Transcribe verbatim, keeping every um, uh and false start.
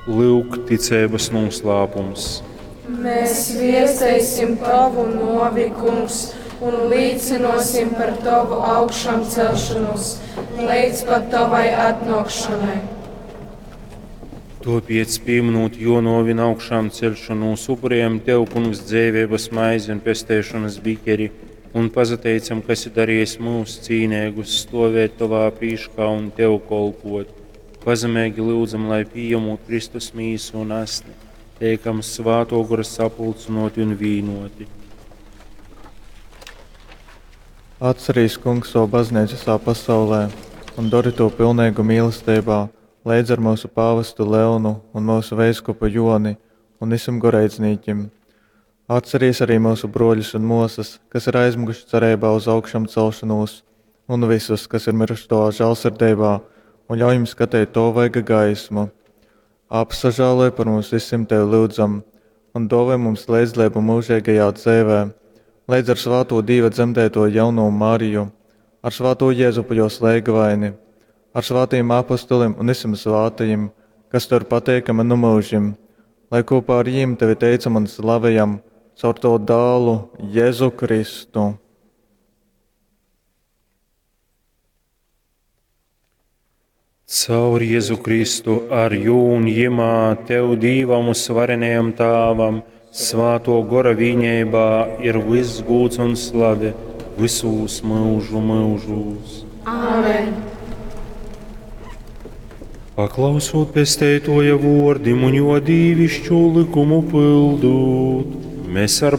Lyuk, ticeibas nūslāpums. Mēs viesteisim tavu novi, kungs, un līcinosim par tavu augšām celšanos līdz pat tavai atnākšanai. Tāpēc, pieminot jo novi un augšām celšanos, upurējam Tev, Kungs, dzīvības maizi un pestēšanas bikeri, un pazateicam, ka esi darījis mūs cīnēgus stovēt Tavā prīškā un Tev kolpot. Pazemīgi lūdzam, lai pieņemot Kristus mīsu un asni, teikam svāto gora sapulcinoti un vīnoti. Atcerīs, Kungs, savu baznīcu visā pasaulē un dari to pilnīgu mīlestībā, leidz ar mūsu pāvestu Leonu un mūsu veiskupu Joni un visiem goreidznīkim. Atcerīs arī mūsu broļus un mosas, kas ir aizmuguši cerībā uz augšām celšanos, un visus, kas ir miruši tavā žēlsirdībā, un ļauj jums skatīt to vaiga gaismu. Apsažāloj par mums visiem tevi lūdzam, un dāvā mums līdzdalību mūžīgajā dzīvē, līdz ar svāto Dieva dzemdēto jauno Mariju, ar svāto Jēzupu jo slēgavaini, ar svātajiem apostoliem un visiem svātajiem, kas tev ir pateikami nu mūžim, lai kopā ar jiem tevi teicam un slavējam caur to dālu Jēzu Kristu. Caur Jēzu Kristu, ar jū un jimā, Tev Dīvam un svarenajam Tāvam, svāto gora vīņībā ir viss gūts un slave visūs mūžu mūžūs. Āmen! Paklausot pesteitoja vordim un jo dīvišķo likumu pildot, mēs ar